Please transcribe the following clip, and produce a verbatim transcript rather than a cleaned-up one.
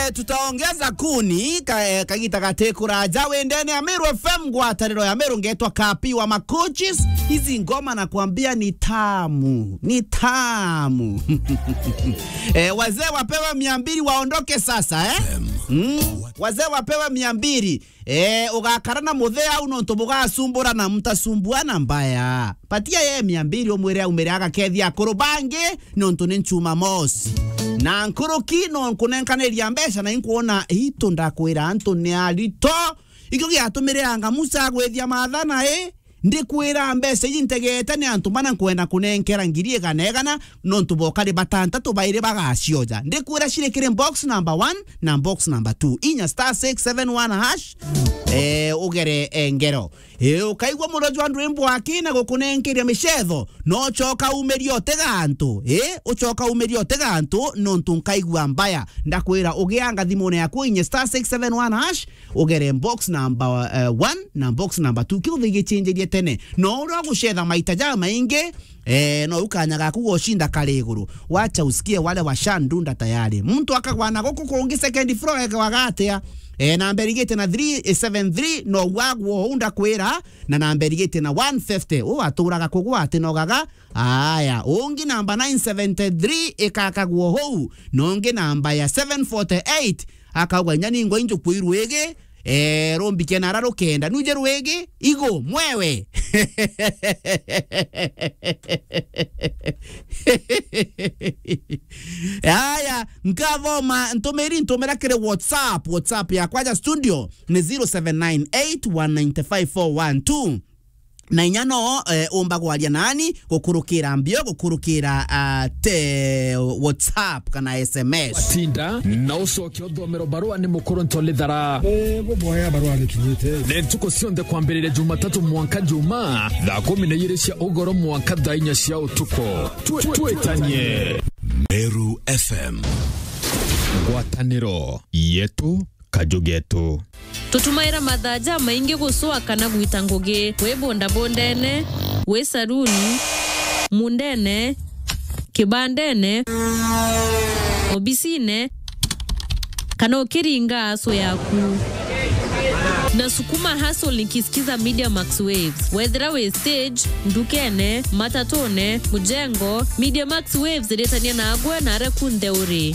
Eh, tutaongeza kuni ka, eh, kagita gati kuraja. Wendene ya Meru F M, ngwataniro ya Meru, ngetwa Kapi wa Macoaches. Hizi ngoma nakwambia ni tamu, ni tamu. Eh, wazee wapewe mia mbili waondoke sasa, eh? Mm. Wazee wapewe mia mbili. Eh, ugakara na muthee au nontu bugasumbura na mtasumbuana mbaya. Patia ye mia mbili, umwire aumire agakethia akuru bangi nontu ni Jumamosi. Na nkuruki no nkunenkaniria mbeca na inkwona itu, ndakwira antu ni arito. Ikio giatumiranga Musa agwithia maathana, i ndikwira mbeca iji ntegete ni antu bana nkwenda kunenkera ngiri igana igana, nontu bokari batantatu bairi bagacioja. Ndikwira ciri kiri box number one na box number two. Inya star six seven one hash, eh, ugere, eh, ngero. Eh, ukaigua muroji wa ndwimbo akina gukunenkeria micetho, no ucoka umiria utega antu. Eh, ucoka umiria utega antu, nontu nkaigua mbaya. Ndakwira, ugianga thimune yaku, inye star six seven one hash, ugere box number, eh, one na box number two. Kiu thigichinjirie tene. No uria ugucetha maita jamaingi, eh, no ukanya gaku gocinda kari iguru. Wacha usikie wale washadunda tayari. Muntu akagwa na guku kungi second floor, ekewaga atia? Eh, namba irigite na three seven three, no wagwo uu ndakwira, na namba irigite na one fifty. Uu aturaga kugwa ati nogaga. Aya, ungi namba nine seventy-three ikakagwo hou, na ungi namba ya seven forty-eight akauga, inya ningwa injuku irwigi, eh, rumbike nara rukenda. Nuje rwigi, igo, mwewe. Aya, nkathoma ntumiri, ntumira kiri WhatsApp. WhatsApp yakwa ya studio ni zero seven nine eight one nine five four one two. Na inya no, eh, umba gwaria nani gukurukira mbio, gukurukira, ah, te WhatsApp kana S M S. Tinda na ucoke uthomero barua ni mukuru Ntolithara. Eh, buboya barua ni kinyite. Ni ntuku cionthe kwambiriria Jumatatu mwanka Juma, thaa kumi na igiri cia ugoro mwanka thaa inya cia utuku. Twi-, twitanie. Meru F M. Ngwataniro yetu, kaju getu. Tutumaira mathaa jamaingi gucua kana gwita ngugi, wi bundabundene, wi saruni, mundene, kibandene, obisine, kana ukiringa aso yaku. Na sukuma hustle nikisikiza Media Max Waves. Wethira wi stage, ndukene, matatune, mujengo, Media Max Waves iritania nagwe na aria kunthe uri.